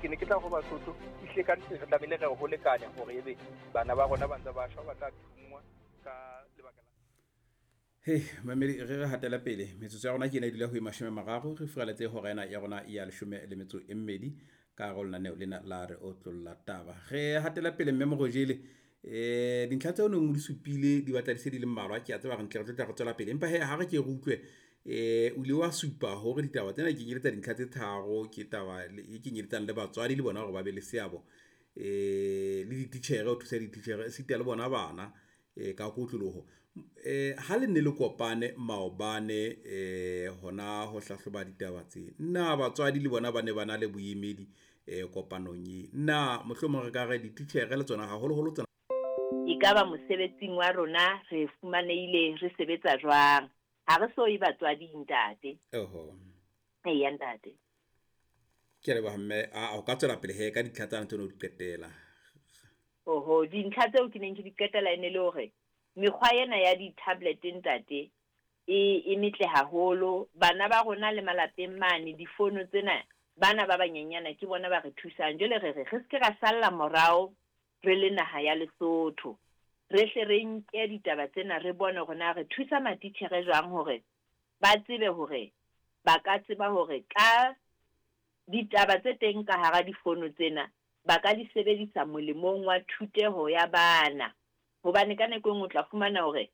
Ke ne ke tla ho Basotho, ehlile ka nnete re tlamehile re ho lekane hore ebe bana ba rona ba ntse ba shwa, ba tla thunngwa ka lebaka la. Hei mamedi, re re hatela pele. Metsotso ya rona ke ena e dula ho e 30, re furaletse hora ena ya rona ya 12 ka hare ho lenaneo lena la Re Otlolla Taba. Re hatela pele mme Morojele, dintlha tseo neng o di supile di batla di se di le mmalwa. Ke a tseba re ntle re tlo tla re tswela pele, empa he ha re ke re utlwe, o ile wa supa hore ditaba tsena di kenyeletsa dintlha tse tharo. Ke taba e kenyeletsang le batswadi le bona hore ba be le seabo, le dititjhere, ho thusa dititjhere esita le bona bana ka kotloloho. Ha le ne le kopane maobane, hona ho hlahloba ditaba tse, na batswadi le bona ba ne ba na le boemedi kopanong e? Na mohlomong re ka re dititjhere le tsona haholoholo tsona? Ekaba mosebetsing wa rona re fumanehile re sebetsa jwang? Ha re so ye batswading, ntate. Oho. Eya, ntate. Ke a leboha mme. A o ka tswela pele he ka dintlha tsane tseo ne o di qetela. Oho, dintlha tseo ke neng ke di qetela e ne le hore mekgwa ena ya di-tablet, ntate, e metle haholo. Bana ba rona le malapeng mane, difono tsena, bana ba banyenyana ke bona ba re thusang. Jwale re re re se ke ra salla morao re le naha ya Lesotho. Re hle re nke ditaba tsena, re bone hore na re thusa matitjhere jwang hore ba tsebe hore ba ka tseba hore ka ditaba tse teng ka hara difono tsena ba ka di sebedisa molemong wa thuteho ya bana. Hobane ka nako e nngwe o tla fumana hore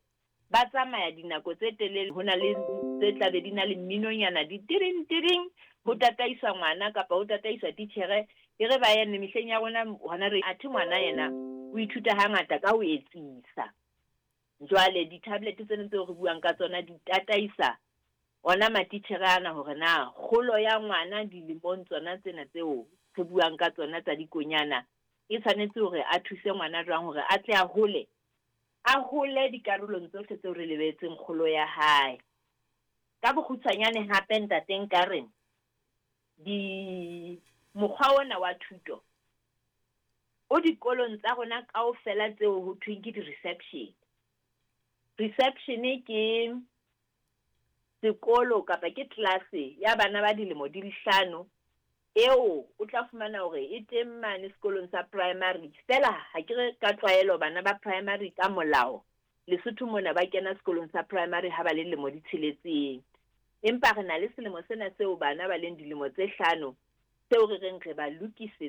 ba tsamaya dinako tse telele, ho na le tse tla be di na le mminonyana di tiring tiring, ho tataiswa ngwana kapa ho tataiswa titjhere, e re ba eme. Mehleng ya rona hona re athe ngwana yena o ithuta hangata ka ho etsisa. Jwale di-tablet tsena tseo re buang ka tsona di tataisa ona matitjhere ana hore na kgolo ya ngwana dilemong tsona tsena tseo re buang ka tsona tsa dikonyana e tshwanetse hore a thuse ngwana jwang hore a tle a hole, a hole dikarolong tsohle tseo re lebetseng kgolo ya hae. Ka bokgutshwanyane hape, ntate, nka re di mokgwa ona wa thuto o dikolong tsa rona kaofela tseo ho thweng ke di-reception. Reception ke sekolo kapa ke tlelase ya bana ba dilemo di le 5, eo o tla fumana hore e teng mane sekolong sa primary. Fela ha ke re ka tlwaelo bana ba primary ka molao Lesotho mona ba kena sekolong sa primary ha ba le lemo di 6, empa re na le selemo sena seo bana ba leng dilemo tse 5 seo re reng re ba lokisetsa.